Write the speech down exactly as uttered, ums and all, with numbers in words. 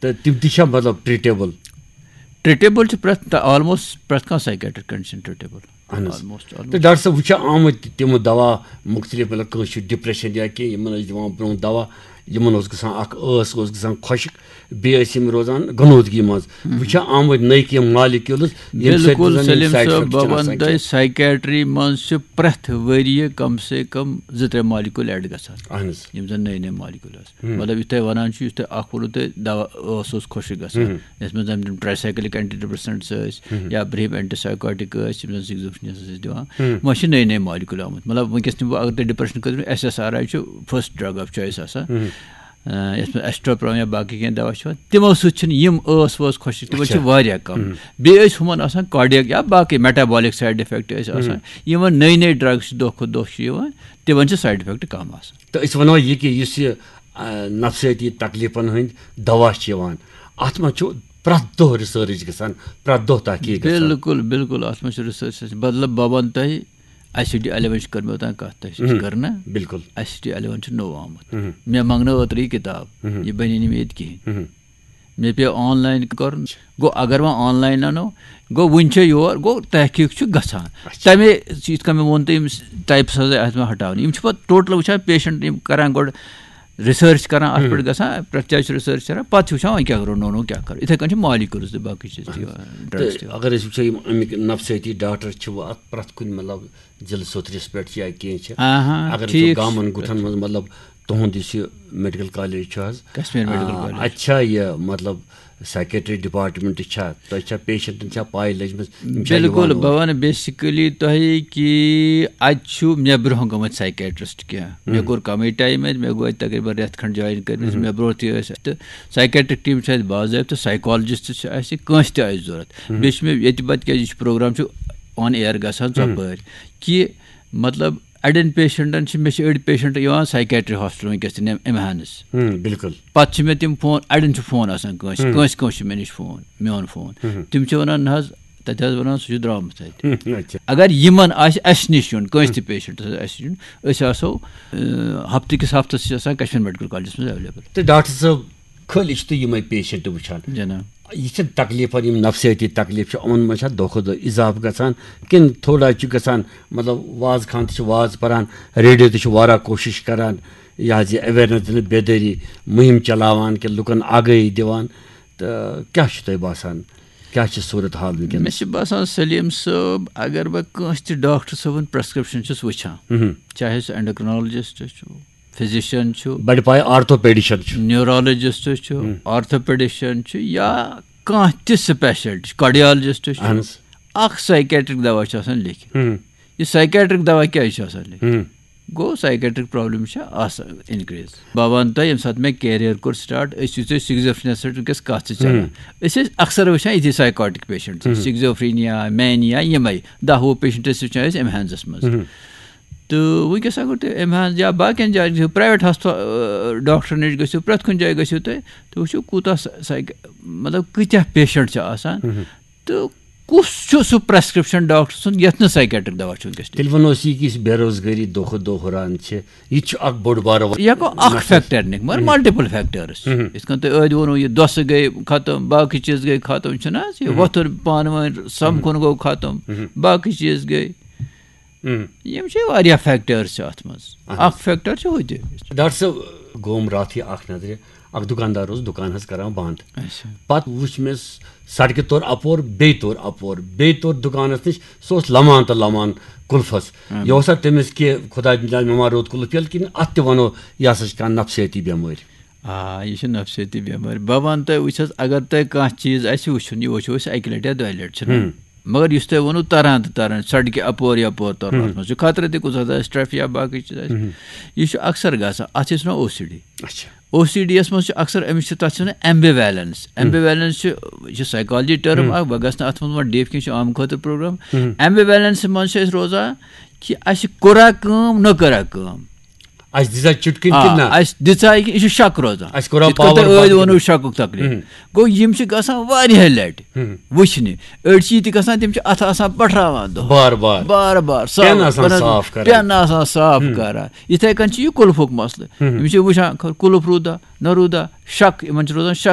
تہٕ تِم تہِ چھا مطلب ٹریٖٹیبٕل؟ ٹریٖٹیبٕل چھِ پرٛٮ۪تھ آلموسٹ پرٛٮ۪تھ کانٛہہ سایکیٹرک کنڈیشن ٹریٖٹیبٕل۔ اہن حظ۔ آلموسٹ تہٕ ڈاکٹر صٲب، وۄنۍ چھِ آمٕتۍ تِم دوا مُختٔلِف، مطلب کٲنٛسہِ چھُ ڈپریشن یا کینٛہہ، یِمن ٲسۍ دِوان برونٛہہ دوا، یِمن اوس گژھان اکھ ٲس اوس گژھان خۄشک، بیٚیہِ ٲسۍ یِم روزان غنودگی منٛز۔ وۄنۍ چھِ آمٕتۍ نٔے کینٛہہ مالیکیولز، ییٚمہِ سۭتۍ بِلکُل زَن یِم سلیم سایڈ صٲب، افیکٹ بہٕ چھِنہٕ وَنہٕ آسان تۄہہِ کینٛہہ۔ سایکیٹری منٛز چھِ پرٛٮ۪تھ ؤریہِ کم سے کم زٕ ترٛےٚ مالیکیول ایڈ گژھان، اہن حظ۔ یِم زَن نٔے نٔے مالیکیول آسان۔ مطلب یُتھ تۄہہِ وَنان چھُ، یُتھ تۄہہِ اکھ ووٚنوُ تۄہہِ دوا ٲس اوس خۄشک گژھان، یَتھ منٛز زَن تِم ٹرٛاے سایکلِک اینٹی ڈپریسنٹس ٲسۍ یا برٛہِم اینٹی سایکوٹک ٲسۍ، یِم زَن سِکزوفرینیاہَس ٲسۍ دِوان۔ وۄنۍ چھِ نٔے نٔے مالیکیول آمٕتۍ۔ مطلب وٕنکیٚس نِمہٕ بہٕ، اگر تۄہہِ ڈپریشن خٲطرٕ ایس ایس آر آی چھُ فرسٹ ڈرگ آف چوائس آسان، آ، یَتھ منٛز ایسٹروپرام یا باقٕے کینٛہہ دوا چھِ یِوان، تِمو سۭتۍ چھِنہٕ یِم ٲس وٲس خۄشک، تِمن چھِ اچھا۔ واریاہ کم۔ بیٚیہِ ٲسۍ ہُمن آسان کارڈیک یا باقٕے میٹابولک سایڈ افیکٹ ٲسۍ آسان۔ یِمن نٔے نٔے ڈرگ چھِ دۄہ کھۄتہٕ دۄہ چھِ یِوان، تِمن چھِ سایڈ افیکٹ کم آسان۔ تہٕ أسۍ وَنو یہِ کہِ یُس یہِ آ، نفسیٲتی تکلیفن ہٕنٛدۍ دوا چھِ یِوان، اتھ منٛز چھُ پرٛٮ۪تھ دۄہ ریسرچ گژھان، پرٛٮ۪تھ دۄہ تحقیق گژھان۔ بِلکُل بِلکُل، اتھ منٛز چھُ ریسرچ، مطلب بہٕ ونہٕ تۄہہِ، آی سی ڈی الیون چھِ کٔرمٕژ اوٚتام کتھ، تۄہہِ سۭتۍ چھِ کٔر نا؟ بِلکُل۔ آی سی ڈی الیون چھُ نوٚو آمُت۔ مےٚ منٛگنٲو اوترٕ یہِ کِتاب، یہِ بنی نہٕ مےٚ ییٚتہِ کِہیٖنۍ۔ مےٚ پیٚو آن لاین کرُن۔ گوٚو اگر وۄنۍ آن لاین انو، گوٚو وُنہِ چھےٚ یور، گوٚو تحقیق چھُ گژھان۔ تمے یِتھ کٔنۍ مےٚ ووٚن تۄہہِ، یِم ٹائپس حظ اتھ منٛز ہٹاونہٕ، یِم چھِ پتہٕ ٹوٹل وٕچھان پیشنٹ، یِم کران گۄڈٕ ریسرچ کران، اتھ پٮ۪ٹھ گژھان، پرٛٮ۪تھ جایہِ چھُ ریسرچ کران، پتہٕ چھِ وٕچھان وۄنۍ کیٛاہ کرو، نوٚو نوٚو کیٛاہ کرو۔ یِتھے کٔنۍ چھِ مالیکیولز تہِ باقٕے چیٖز تہِ یِوان، ڈرگس تہِ تہٕ یِوان۔ اگر أسۍ وٕچھو، یِم اَمِکۍ نفسیٲتی ڈاکٹر چھِ وۄنۍ اتھ پرٛٮ۪تھ کُنہِ مطلب ضلعہٕ سوٚتھرِس پٮ۪ٹھ یا کینٛہہ چھِ، آہا، اگر أسۍ ٹھیٖک۔ گامن گُٹھن منٛز، مطلب تُہُنٛد یُس یہِ میڈیکل کالج چھُ حظ، کشمیر میڈیکل آ، کالج۔ اتہِ چھا یہِ مطلب سیکریٹری ڈپارٹمنٹ چھا، تۄہہِ چھا پیشنٹن چھا پاے لٔجمٕژ، یِم چھا بِلکُل، یِوان بہٕ اور؟ وَنہٕ بیسکلی تۄہہِ کہِ اَتہِ چھُ مےٚ برونٛہہ گٔمٕتۍ سایکیٹرسٹ کینٛہہ۔ مےٚ کوٚر کَمٕے ٹایم اَتہِ، مےٚ گوٚو اَتہِ تقریٖباً رٮ۪تھ کھنٛڈ جوین کٔرمٕژ، مےٚ برونٛہہ تہِ ٲسۍ اَتہِ۔ تہٕ سایکیٹرک ٹیٖم چھِ اَتہِ باضٲبطہٕ، سایکالجسٹ چھِ اَسہِ، کٲنٛسہِ تہِ آسہِ ضوٚرَتھ۔ بیٚیہِ چھِ مےٚ ییٚتہِ پَتہٕ، کیٛازِ یہِ چھُ پروگرام چھُ آن ایئر گژھان ژۄپٲرۍ، کہِ مطلب اَڑٮ۪ن پیشنٹن چھِ، مےٚ چھِ أڑۍ پیشنٹ یِوان سایکیٹری ہاسپٹل وٕنکیٚس تہِ نِم-، اِمہانس۔ ہم، بِلکُل۔ پتہٕ چھِ مےٚ تِم فون، اَڑٮ۪ن چھُ فون آسان کٲنٛسہِ، کٲنٛسہِ کٲنٛسہِ چھُ مےٚ نِش فون، میون فون۔ تِم چھِ وَنان، نہ حظ، تَتہِ حظ وَنان، سُہ چھُ درٛامُت اَتہِ۔ ہم، اچھا۔ اگر یِمن آسہِ اَسہِ نِش یُن، کٲنٛسہِ تہِ پیشنٹس آسہِ اَسہِ نِش یُن، أسۍ آسو، اَ، ہفتہٕ کِس ہفتس چھِ آسان کشمیر میڈیکل کالجس منٛز ایویلیبل۔ تہٕ ڈاکٹر صٲب، خٲلی چھِ تُہۍ یِمے پیشنٹ وٕچھان؟ جناب۔ یہِ چھِ تکلیفن، یِم نفسیٲتی تکلیف چھِ، یِمن منٛز چھا دۄہ کھۄتہٕ دۄہ اضافہٕ گژھان، کِنہٕ تھوڑا چھُ گژھان، مطلب وازٕ خان تہِ چھِ وازٕ پران، ریڈیو تہِ چھِ واریاہ کوٗشش کران، یہِ حظ یہِ اویرنس دِنہٕ، بیدٲری مُہِم چلاوان، کہِ لُکن آگٲہی دِوان، تہٕ کیٛاہ چھُ تۄہہِ باسان، کیٛاہ چھِ صوٗرت حال وٕنکیٚنَس؟ مےٚ چھِ باسان سلیم صٲب، اگر بہٕ کٲنٛسہِ تہِ ڈاکٹر صٲبُن پرسکرپشن چھُس وٕچھان، مہم۔ چاہے سُہ اینڈوکرنالجسٹ چھُ، فزیشن چھُ، بڑِ پایہِ آرتھوپیڈیشن چھُ۔ نیورولوجسٹ چھُ، آرتھوپیڈیشن چھُ، یا کانٛہہ تہِ سپیشلٹی، کارڈیالجسٹ چھُ، اہن حظ۔ اکھ سایکیٹرک دوا چھُ آسان لیکھِتھ۔ ہم۔ یہِ سایکیٹرک دوا کیٛازِ چھُ آسان لیکھِتھ؟ ہم۔ گوٚو سایکیٹرک پرابلم چھِ آسان انکریز۔ بہٕ وَنہٕ تۄہہِ، ییٚمہِ ساتہٕ مےٚ کیریئر کوٚر سٹارٹ، أسۍ یُتھُے سکزوفرینیا سۭتۍ وٕنکیٚس کتھ چھِ چلان، أسۍ ٲسۍ اکثر وٕچھان یِتھی سایکوٹک پیشنٹ، سکزوفرینیا، مینیا، یِمے دہ وُہ پیشنٹ ٲسۍ وٕچھان أسۍ ایمہانزس منٛز۔ تہٕ وٕنکیٚس اگر تُہۍ ایمہانز یا باقین جاین گٔژھِو، پرایویٹ ہسپتال، ڈاکٹر نِش گٔژھِو، پرٛٮ۪تھ کُنہِ جایہِ گٔژھِو تُہۍ، تُہۍ وٕچھِو کوٗتاہ سا-، سایک-، مطلب کۭتیاہ پیشنٹ چھِ آسان۔ تہٕ کُس چھُ سُہ پرسکرپشن ڈاکٹر سُنٛد یتھ نہٕ سایکیٹرک دوا چھُ وٕنکیٚس لیکھِتھ؟ تیٚلہِ وَنو أسۍ یہِ، کہِ یُس بے روزگٲری دۄہ کھۄتہٕ دۄہ ہُران چھِ، یہِ تہِ چھُ اکھ بوٚڑ بارٕ وَ-، یہِ ہٮ۪کو اکھ نفس۔ فیکٹر نِتھ، مگر ملٹیپل فیکٹرس۔ یِتھ کٔنۍ تۄہہِ ٲدۍ ووٚنوُ، یہِ دۄسہٕ گٔے ختم، باقٕے چیٖز گٔے ختم، چھُنہٕ حظ؟ یہِ وۄتھُن پانہٕ ؤنۍ سمکھُن گوٚو ختم، باقٕے چیٖز گٔے۔ یِم چھِ واریاہ فیکٹرس چھِ اتھ منٛز۔ اکھ فیکٹر چھُ ہُہ تہِ۔ ڈاکٹر صٲب، گوم راتھٕے اکھ نظرِ، اکھ دُکاندار اوس دُکان حظ کران بند۔ اچھا۔ پتہٕ وُچھ مےٚ س-، سڑکہِ توٚر اپور، بیٚیہِ توٚر اپور، بیٚیہِ توٚر دُکانس نِش، سُہ اوس لمان تہٕ لمان قُلفس۔ یہِ اوسا تٔمِس کہِ خۄداے دِنۍ مےٚ ما روٚت قُلف ییٚلہِ، کِنہٕ اتھ تہِ ونو یہِ ہسا چھِ کانٛہہ نفسیٲتی بٮ۪مٲرۍ؟ آ، یہِ چھِ نفسیٲتی بٮ۪مٲرۍ۔ بہٕ ونہٕ تۄہہِ، وٕچھ حظ، اگر تۄہہِ کانٛہہ چیٖز آسہِ وٕچھُن، یہِ وٕچھو أسۍ اکہِ لٹہِ یا دۄیہِ لٹہِ، چھُنہ؟ مگر یُس تۄہہِ ووٚنوُ تران تہٕ تران، سڑکہِ اپور یپور ترُن، اتھ منٛز چھُ خطرٕ تہِ، کُنہِ ساتہٕ آسہِ ٹریفک یا باقٕے چیٖز آسہِ۔ یہِ چھُ اکثر گژھان، اتھ چھِ أسۍ ونان او سی ڈی۔ اچھا۔ او سی ڈی یس منٛز چھُ اکثر، أمِس چھِ، تتھ چھِ ونان ایمبیویلنس۔ ایمبیویلنس چھُ، یہِ چھِ سایکالجی ٹرم اکھ، بہٕ گژھٕ نہٕ اتھ منٛز وۄنۍ ڈیپ کینٛہہ، یہِ چھُ عام خٲطرٕ پروگرام۔ ایمبیویلنس منٛز چھِ أسۍ روزان کہِ اسہِ کوٚرا کٲم، نہ کوٚرا کٲم۔ اسہِ دِژا چُٹکِنۍ آ، کِنہٕ نہ؟ اسہِ دِژا یہِ، یہِ چھُ شک روزان۔ اسہِ کوٚرا یِتھ کٔنۍ پاور تۄہہِ ٲدۍ بند ووٚنوُ کِنہٕ؟ شکُک تکلیف۔ گوٚو یِم چھِ گژھان واریاہ لٹہِ وٕچھنہِ۔ أڑۍ چھِ یہِ تہِ گژھان، تِم چھِ اتھٕ آسان پٹھراوان دۄہس۔ بار بار۔ بار بار پٮ۪ن آسان کران، صاف کران۔ پٮ۪ن آسان صاف کران۔ یِتھے کٔنۍ چھِ یہِ قُلفُک مسلہٕ۔ یِم چھِ وٕچھان، خ-، قُلف روٗدا، نہ روٗدا، شک، یِمن چھُ روزان شک۔